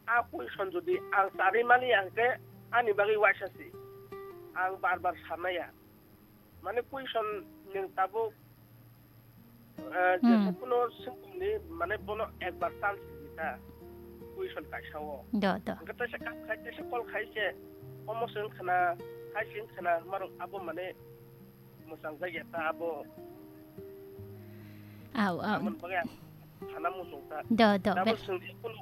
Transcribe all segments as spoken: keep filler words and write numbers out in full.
A question jodi ang charwi mani hwnkhe ani bagwi waisa si. Ang bar bar sanaya. Mane question nwng tabuk, eh, Hmm. jesa kuno swngmungni mane bono ekbar chance rita question kaisa o. Do, do. Hwnkhe teisa kap khai, teisa call khai se, omo se wngkha na, hai se wngkha na, hwnba rok abo mane mwchang jak ya ta abo. Au, au. Aboni bagwi ang sana muchung ta. Do, do, Abo be- swngje kunu,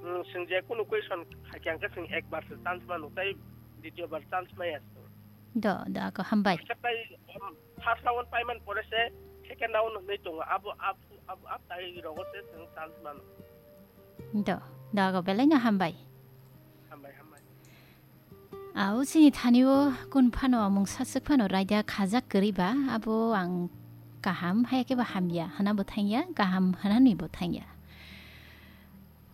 mm, swngje kunu question khai khe ang khe swng ekbar se chance manu, tai ditiyo bar chance maya swng. Do, do, ako hambai. Khe tai, um, first round paiman pore se second round hwnwi tongo. Abo, ab-, ab-, ab tai rogo se chwng chance mano. Do, do, ako belai no hambai. Hambai, hambai. Au, chini thani o kun phano mungsa swk phano raida khajak kwrwi ba, abo ang kaham, hai khe ba hamya, hana bo thangya, kaham hanani bo thangya.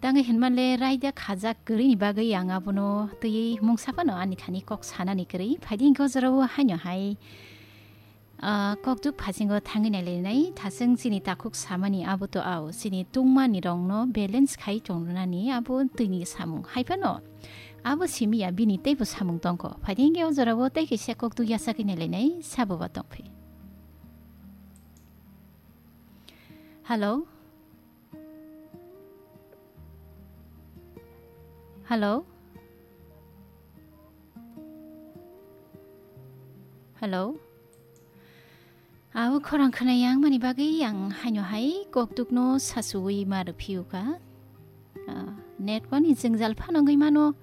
Tangwi hinmanle raida khajak kwrwini bagwi ang abono twiwi mungsa phano ani thani kok sanani kwrwi. Phaidi hwnkhe o jorao haino hai, ah, kokduk phasingo thangwi nailainai thaswng chini takhuk samani abo to ao chini tungmani rokno balance khai tongnani abo twini samung hai phano abo simi ya bini teibo samung tongkho. Phaidi hwnkhe o jorao tei kaisa kokduk yachagwi nailainai sabo ba tongphi. Hello? Hello? Hello? Abo khorang khwnai yang mani bagwi ang haino hai kokdukno sasuwi ma rwphiyuka. Ah, network ni jwngjal phano wngwi mano.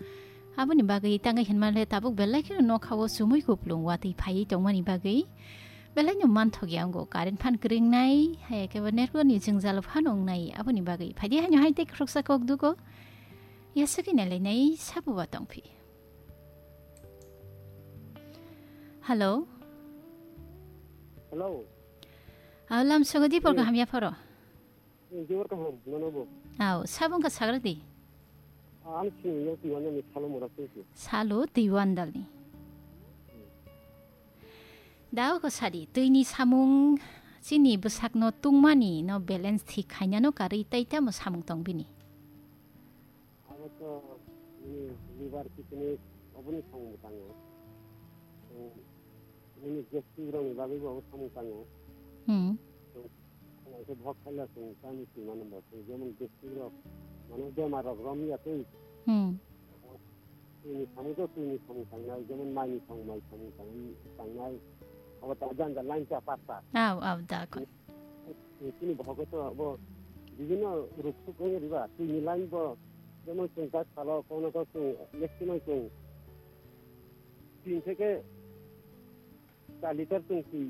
Aboni bagwi tangwi hinmale tabuk belai kheno nokha o sumui kuplung watwi phaiwi tongmani bagwi. Belai no manthok ya wngo, current phan kwrwng nai, hai khe bo network ni jwngjal phano wng nai, aboni bagwi. Phaidi haino hai tei khoroksa kok dugo, yasagwi nai lai nai, sabo ba tong phi. Hello? Hello. Aw, lam sogo di por Hmm. kaham ya phoro. Jewar kaham, nono bo. Aw, sabo wngkha sagra di. Ang sini yang tiwan yang salo mora sini. Salo tiwan dalni. Dao ko sadi, twini samung chini bwsakno tungmani no balance thik khainano karwi tei tamo samung tong bini. Abo to, nini liver kidney oboni samung tango. Nini gastric rokni bagwi bo abo samung tango. Hmm. Ang khe bhok khaila chwng tamni swima nang bo chwng jemon gastric rok mane bemar rok romya twi. Hmm. Twini samung to twini samung tangnai, jemon maini samung mai samung tang-, tangnai. Abo ta janja line cha pasta. Aw, aw, da ko. Chini bohogo to abo bibhinno ruk suk wngwi riba. Twini line bo jemon chwng tak salo kono ko chwng maximum chwng tin theke char liter chwng twi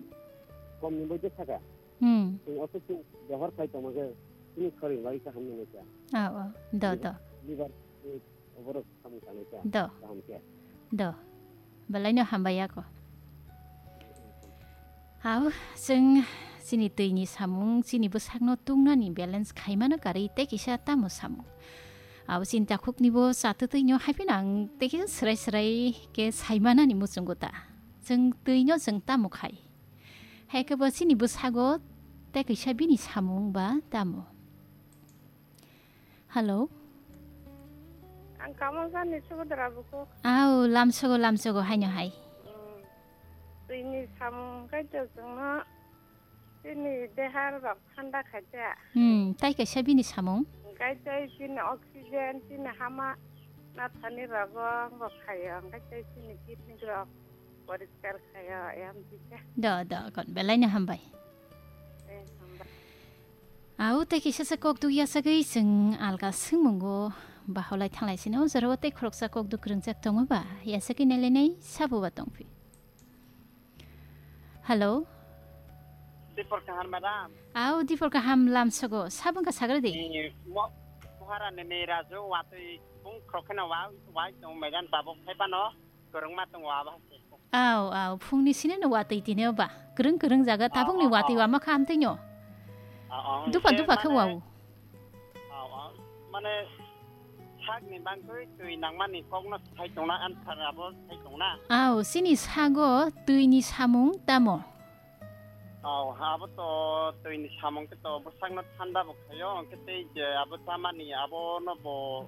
komni moddhe thaka. Hmm. Chwng oso chwng behar khai tongma khe chini khorang bai kaham nang kha. Oh, oh. Do, do. Liver, eh, oborok samung tangnai kha. Do. Kaham khe. Do. Belai no hambai ako. Hao, chwng chini twini samung, chini bwsakno tungnani balance khaimano karwi tei kisa tamo samung. Abo chini takhukni bo chatwtwino hai phano ang tei kisa swrai swrai khe saimanani muchungo ta. Chwng twino chwng tamo khai. Hai khe bo chini bwsago tei kisa bini samung ba tamo. Hello? Ang Kamalsani Subhadra bukhuk. Au, lamsogo, lamsogo, haino hai. Hmm. Twini samung kaitor chwngno chini dehar rok thanda khaita. Hmm, tai kaisa bini samung? Hwnkhe tei chini oxygen, chini hama nathani rogo wngbo khaio, hwnkhe tei chini kidney rok poriskar khaio, ayam jikha. Do, do, kon belai no hambai. Eh, hambai. Au, tei kisa sa kok duk yasagwi chwng alga swngmungo baholai thanglai sino, o jorao tei khoroksa kok duk kwrwngjak tongo ba, yasagwi nailainai sabo ba tongphi. Hello. Dipor kaham, madam. Au, dipor kaham lamsogo. Sabung ka sagra di? Eh, mo-, mohara nene raju watui bung krokena wa, wa tong medan tabok hai pano, korong ma tong wa ba. Au, au, phungni sini no watui tini ba. Kereng kereng jaga tabung ni watui wa ma kham tini. Dupa, dupa khe wau. Aw, aw. Mane, sakni bangtwi twi nangmani kokno sai tongna, answer abo sai tongna. Aw, chini sago twini samung tamo? Aw, abo to twini samung khe to bwsakno thanda bo khaio, hwnkhe tei je abo chamani abono bo